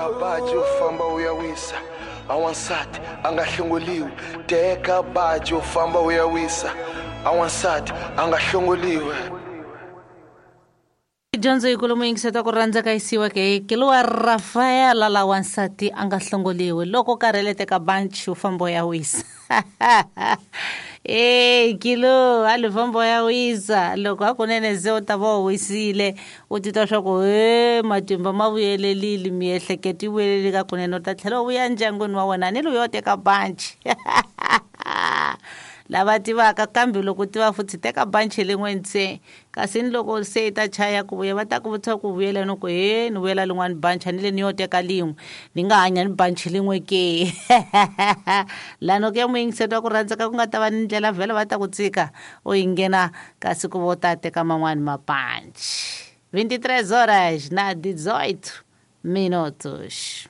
Teka baji u famba u ya wisa, a wansati a nga hlongoliwi. Teka baji u famba u ya wisa, a wansati a nga hlongoliwi. Dyondzo yikulu muyingiseti wa ku rhandza ka yisiwa ke kiluwa Rafaela la wansati a nga hlongoliwi. Loko u karhele teka banchi u famba u ya wisa. E kilo a li famba u ya wisa. Loko hakunene se u ta va u wisile, u titwa swa ku he matimba ma vuyelelile, miehleketo yi vuyelelile ka kunene, u ta tlhela u vuya ndyangwini wa wena ni loyi yo teka banchi. Lava tivaka kambe loko u tiva futhi teka banchi lin'we ntsena. Kasi ni loko se yi ta chaya ku vuya va ta ku vutisa ku vuyela ni ku he ni vuyela lin'wani banchi, a ni le ni yo teka lin'we, ni nga hanya ni banchi lin'we ke. Lani ku ya muyingiseti wa ku rhandzeka ku nga ta va ni ndlela vhele va ta ku tshika u yi nghena kasi ku vo ta teka man'wani mabanchi. 23 horas na 18 minutos.